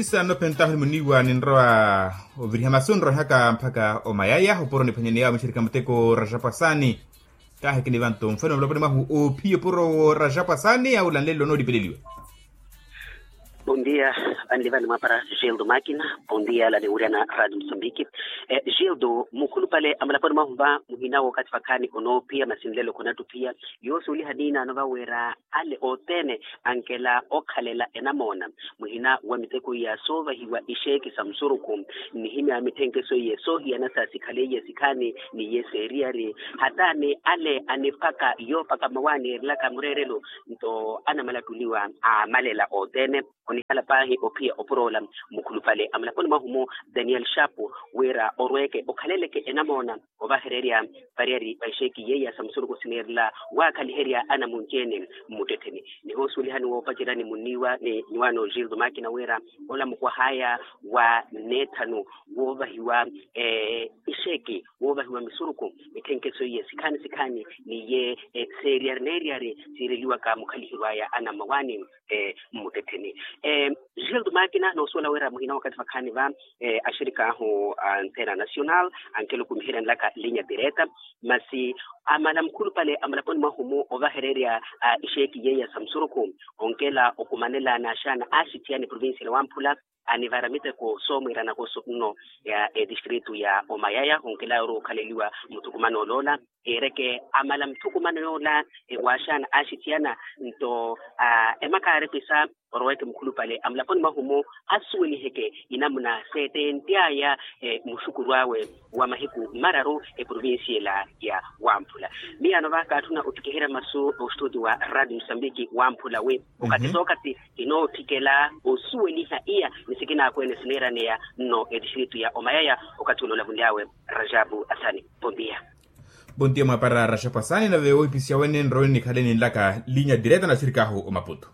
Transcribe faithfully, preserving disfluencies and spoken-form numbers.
Sano pentaho ni muniwa ninrowa oviriha masu nrohaka mpaka omayaya opuro niphwanyaneya omicherika muteko rajapasani. Kaahikinivanto mfano muloponi mwahu ophiya opuro wo rajapasani awu lanlelo noolipeleliwa. Bondia. Vanlivani mwapara gildo makina. Bondia laniwuryana radio mosambiki. Gildo mukhulupale amulaponi mwahu va muhina wookathi vakhaani onoophiya masi nlelo khonattupiya. Yoosuweliha niinaano vaweera ale othene ankela okhalela enamoona muhina wa miteko iya soovahiwa ixeeki sa musurukhu. Nihimya mithenkeso iye soohiyana sa sikhaleiye sikhaani ni iye seeriyari hata ni ale anipaka yoopaka mawaani eerelaka mureerelo nto anamalattuliwa amalela othene. Onihala paahi ophiya opuroola mukhulupale amulaponi mwahu-mu daniel shapu wira orweeke okhaleleke enamoona ovahererya variyari va ixeeki yeeya sa musuruku sineerela waakhaliherya anamunci-ene mmuttettheni. Nihoosuwelihani woopaceryani munniiwa ni nyuwaano gildo makina wira ola mukwah'aya wa neethanu woovahiwa ixeeki woovahiwa misuruku mithenkeso iye sikhaani sikhaani ni iye seeriyari neeriyari siireliwaka mukhaliheryo aya anammawaani mmuttettheni. Gildo makina noosuwela wira muhina wakathi vakhaani va axirik'ahu a ntera national ankela okumiheryanelaka linya direta masi amala mukhulupale amulaponi mwahu-mu ovahererya ixeeki yeeya sa musurukhu onkela okumanela n'axaana axithiyana eprovincia ya wamphula anivara miteko soomwiiranaka oso nno ya etistritu ya omayaya onkelaya ori okhaleliwa muthukumano oloola. Eereke amala muthukumano yoola waaxaana axithiyana nto emaka aaripisa oroweke mukhulupale amulaponi mwahu-mu asuweliheke inamuna seettenty'aya muxukuru awe wa mahiku mararu eprovincia ela ya wamphula. Miyaano va kaatthuna ottikiherya masu ostuti wa radio mosambiki wamphula wi okathi sookathi kinootthikela osuweliha iya ni sikinaakwene sineeraneya nno etistritu ya omayaya. Okathi ule olavunly'awe rajabu asani. Pontiya. Pontiya mwapara rajabu asani nave wohipisiya wene nrowe nikhale ninlaka linya direta naxirik'ahu omaputu.